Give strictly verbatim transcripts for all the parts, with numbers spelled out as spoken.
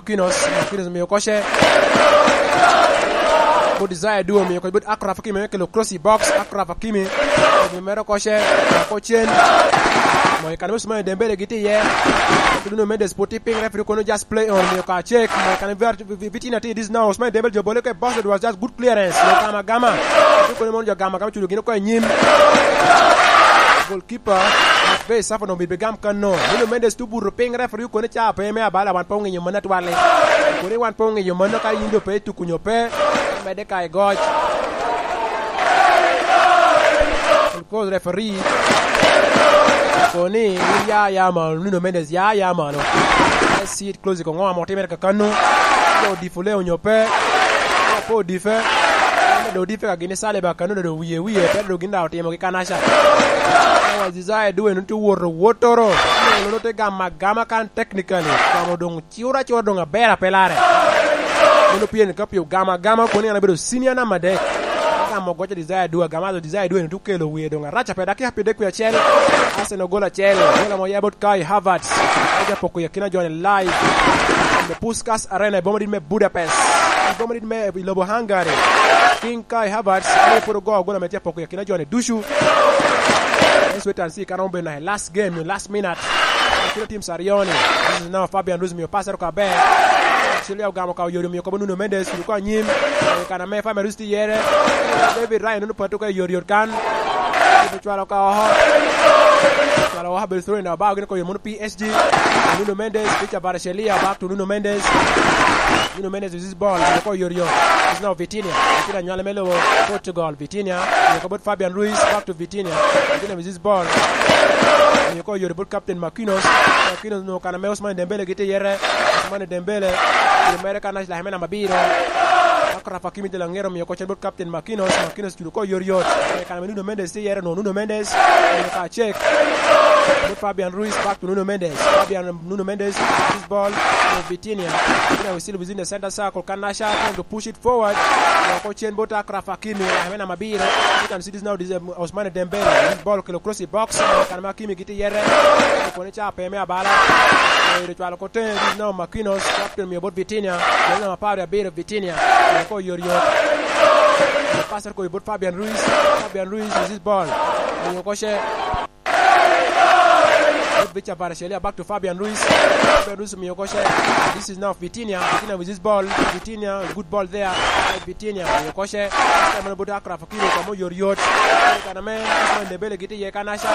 Marquinhos, Marquinhos omio koce. Bot Desire Duo omio koce bot Achraf Hakimi, kelo cross i box, Achraf Hakimi. Omio mere koce, oko cen. Mo i kan me Ousmane Dembele gitye iye. Nuno Mendes pwod tye piny, referee kono just play on, omio ka check. Mo i kan me Vitinha tye, this now Ousmane Dembele jo bole ke box, it was just good clearance. Omio Gama Gama. Omio kono mono jo Gama Gama cudo gin oko i nyim. Goalkeeper, McVeigh Safo no bibigam kano. Nuno Mendes tu buto piny, referee kono ca pe me abala, wan pe ongeyo mano atwali. Kono wan pe ongeyo mano ka in do pe ituko nyo pe, medde ka igoc. Because referee kono ni in ya, ya malo, Nuno Mendes ya, ya malo. Let's see it close, ko ŋo amo timere kakano. Pe odifo le onyo pe. Pe odife. Medo odife ka gin i Saliba kano, dodo wiye, wiye, pe dodo gin daŋ otimo gi kanaca. Otherwise, Desire Duo en tye woto, wotoro. Nono te gamo agama kan technically. Gamo doŋ ciwra ciwra doŋ aber ape lare. Meno pien ka pio gamo agama kono en abedo senior number adek. Gamo goco Desire Duo, gamo azo Desire Duo en tye okelo wiye doŋ arac ape, dakika pyeraryo dek wie acel. Arsenal gol acel, gol amo oya bot Kai Havertz. Oja poko i akina joni live. The Puskas Arena i boma dit me Budapest. I boma dit me i lobo Hungary. King Kai Havertz, ame pwod ogo gol ame tye apoko i akina joni ducu. Swetan si kan obedo na last game, last minute. Akina teams aryo ni. This is now Fabian Ruiz mio pass ero kaber. Actually, ogamo ka oyodo mio kobo Nuno Mendes, suru ko anyim. Kan ame Fabian Ruiz tye yere. David Ryan nunu pato ka yot yot kan. Cwalo ka oho. Cwalo oho, bel throw in the back, gin ko yomo P S G. Nuno Mendes, Victor Kvaratskhelia, back to Nuno Mendes. Nuno Mendes with this ball, ko yot yot. It's now Vitinha. Vitinha nywale me lobo Portugal. Vitinha, ko bot Fabian Ruiz, back to Vitinha. Vitinha with this ball. Ko yot bot captain Marquinhos. Marquinhos no kan ame Ousmane Dembele gitye yere. Ousmane Dembele. Mere kan namba abiro. Achraf Hakimi de Langero mio ko cen bot captain Marquinhos. Marquinhos cudo ko yot yot. Kan ame Nuno Mendes tye yere no. Nuno Mendes. Mio ka check. Bot Fabian Ruiz, back to Nuno Mendes. Fabian, Nuno Mendes, this ball to Vitinha. Vitinha will still within the center circle. Kan Nasha trying to push it forward. Mio ko cen bot Achraf Hakimi. Mere namba abiro. You can see this now, this, um, Ousmane Dembele. This ball kelo cross i box. Kan ame Hakimi gitye yere. Koni ca pe me abala. Oyo cwalo ko tenge, this now Marquinhos. Captain mio bot Vitinha. Jami namba apar abiro Vitinha. Ko yot yot. Passer ko bot Fabian Ruiz. Fabian Ruiz with this ball. Mio ko ce. Victor Kvaratskhelia back to Fabian Ruiz. Fabian Ruiz mio ko ce. This is now Vitinha. Vitinha with this ball. Vitinha, good ball there. Vitinha mio ko ce. Kan ame bot Achraf Hakimi kamo yot yot. Kan ame Ousmane Dembele gitye iye kan Nasha.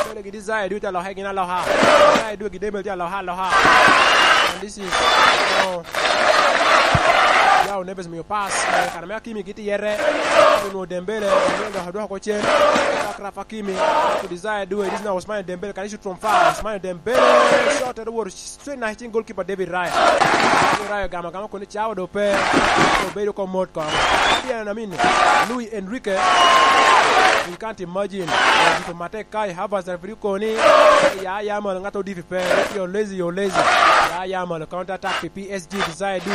Dembele gitye Desire Duo tye aloha gin aloha. Desire Duo gi Dembele tye aloha aloha. And this is now Joao Neves mio pass. Kan ame Hakimi gitye yere. Onwo Dembele. Dembele dok odwoko ko cen. Achraf Hakimi. To Desire Duo. It is now Ousmane Dembele. Can he shoot from far? Ousmane Dembele. Shot at the world. Straight na cing goalkeeper David Raya. David Raya gamo agama koni cawa do pe. Obedo ko mot kong. Pien amin Luis Enrique. You can't imagine. Dito matek Kai Havertz referee koni. Ya, ya malo, ngat odifi pe. You're lazy, you're lazy. Ya, ya malo, counter attack pi P S G, Desire Duo.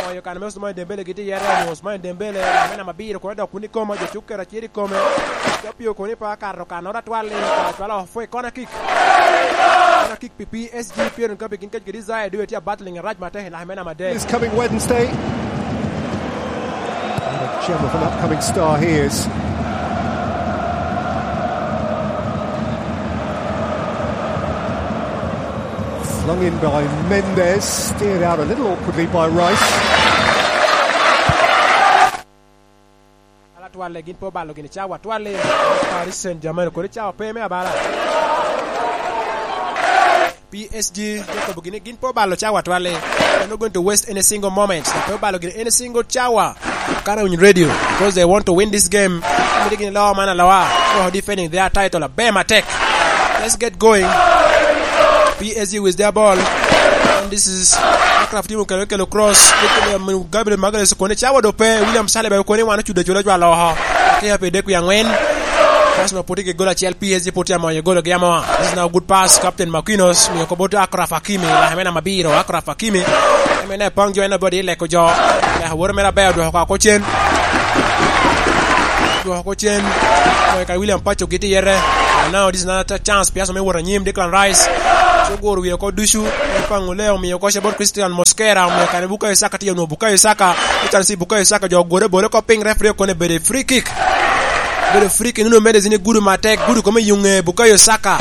Oyo kan me Ousmane Dembele gitye yere, Ousmane Dembele, ame namba abiro kono dok kun i kome, jo cuk kera cir i kome. Ka pio koni pa kato kanoro atwal ni, cwalo off for a corner kick. Corner kick pi P S G, pien ka pi gin kec kede Desire Duo tye a battling arac matek i lame namba adek. This coming Wednesday. And a gem of an upcoming star he is. Flung in by Mendes, steered out a little awkwardly by Rice. Ala twalle gin po balo gini cawa twalle. Paris Saint-Germain kodi cawa pe me abala. P S G, Jacob gini gin po balo cawa twalle. They're not going to waste any single moment. Pe obalo gini any single cawa. Kana winy radio, because they want to win this game. Mito gini lowa man alowa. Oh, defending their title. Be matek. Let's get going. P S G with their ball. And this is Achraf Hakimi kelo, kelo cross. Gabriel Magalhaes kone cawa do pe. William Saliba kone wan ocudo cudo jwa loho. Kaya pe dek wi angwen. Arsenal poti ke gol acel, P S G poti amoyo gol gi amoa. This is now good pass, Captain Marquinhos. Miyo ko bot Achraf Hakimi. Lahemena mabiro. Achraf Hakimi. Emene pang jo en abodi leko jo. Ya woro mera ber dwoko ka kocen. Dwoko kocen. Moyo ka William Pacho giti yere. And now this is another chance. Piaso me woro anyim. Declan Rice. Ci oguro wie oko ducu, Paŋo le omio koce bot Christian Mosquera, omio kare Bukayo Saka tye onwoŋo Bukayo Saka, Lucan C Bukayo Saka jo ogure bole oko piny, referee okone bedo free kick. Bedo free kick, Nuno Mendes ni gudo matek, gudo kome i yuŋe Bukayo Saka.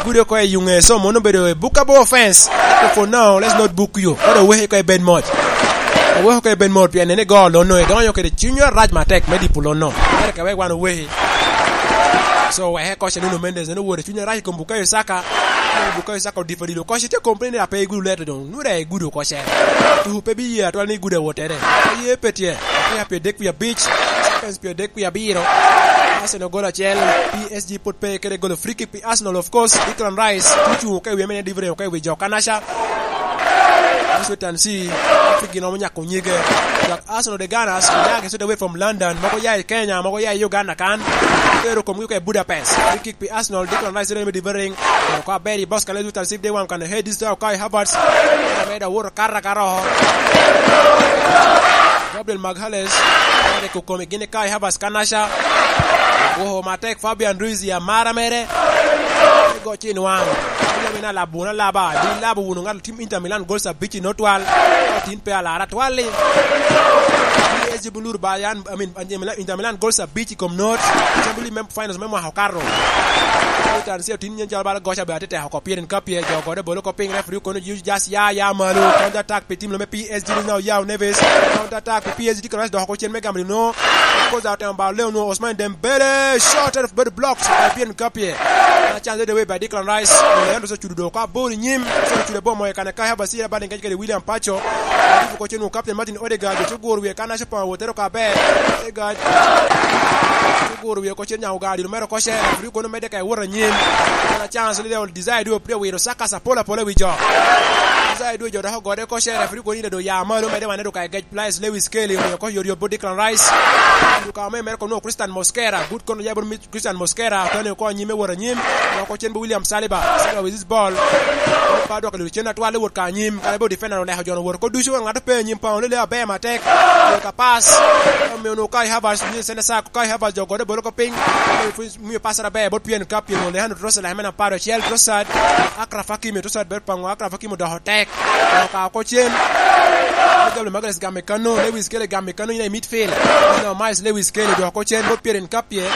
Gudo oko i yuŋe, so mono bedo a bookable offense. For now, let's not book you. Koro oweki oko i bed mot. Oweki oko i bed mot, pien en igo lono, idonyo kede cuny arac matek me dipo lono. Mere ka wek wan oweki. So, weke koce Nuno Mendes, en owoto i cuny arac i kom Bukayo Saka. Bukayo Saka odipo dilo koce, tye complain ni ape igudo leto doŋ. Nure igudo koce. Tuhu pe bi ye atwal ni igudo awottere. Pe ye pe tye. Ape pye dek pye abic. Seconds pye dek pye abiro. Arsenal golo acel. P S G pwod pe kede golo free kick pi Arsenal, of course. Declan Rice, tucu ka i wi mene delivery, ka i wi jo Kanasha. Washington C, African romo nyako nyige. Arsenal de Gunners, ya get away from London, mogo ya i Kenya, mogo ya i Uganda kan. Tero komgi oko i Budapest. Free kick pi Arsenal, Declan Rice, Jeremy Divering. Ko aberi boss kan lezu tan sip de wan kan head this time Kai Havertz. Meda woro karra karo. Gabriel Magalhaes, ade ko komi gini Kai Havertz Kanasha. Oho matek Fabian Ruiz ya mara mere. Go cin wang. Ina mina labu na laba, di labu wunu ngat tim Inter Milan gol sabici no twal. Tin pe alara twalli. P S G bulur ba yan, I mean, Inter Milan, Inter Milan gol sabici kom not. Champions League mem finals me mwaka okato. Tan sio tin nyen jal bala gocha be atete oko pirin ka pie jo gode bolo ko piny referee kono use just ya, ya malo. Counter attack pi tim lo me P S G ni now Yao Neves. Counter attack pi P S G kono dok oko cen me gambling no. Koza otemo ba leo no Osman Dembele. Shot out of body blocks. Pirin ka pie. Na chance de we by Declan Rice. Leandro so chudo do ka ball nyim. So chudo ball moyo kane Kai Havertz ira bad engage kede William Pacho. Ko cen wo captain Martin Odegaard, jo guro wie kan aco pa wotero ka be. Odegaard. Jo guro wie ko cen nyawo gadi numero ko cen. Referee kono mede ka woro nyim. Na chance le Desire do prio wiro Saka sapola pola wi jo. Desire do jo dako gode ko cen. Referee kono ine do ya malo mede wane do ka engage players Lewis Kelly, omiyo ko yori obo Declan Rice. Duka me America no Christian Mosquera. Good kono ya bot Christian Mosquera, Tony oko anyim me wot anyim, loko cen bo William Saliba, Saliba with this ball. Pa dwoko lwelo cen atwal i wot ka anyim, kare bo defender oleko jona wot ko ducu, ngat pe anyim pa olele aber matek. Ka pass, omiyo no Kai Havertz, ni sene sa Kai Havertz jo gode bolo ko piny. Miyo pass aber bot pien ka pien Alejandro Trossard, Lamine Amparo, Chiel Trossard, Achraf Hakimi, Trossard ber pango Achraf Hakimi odoko tek. Ka oko cen. Gabriel Magalhaes gamo i kano, Lewis Kelly gamo i kano, in i midfield. No, Miles Lewis Kelly odoko cen, bot pien ka pie.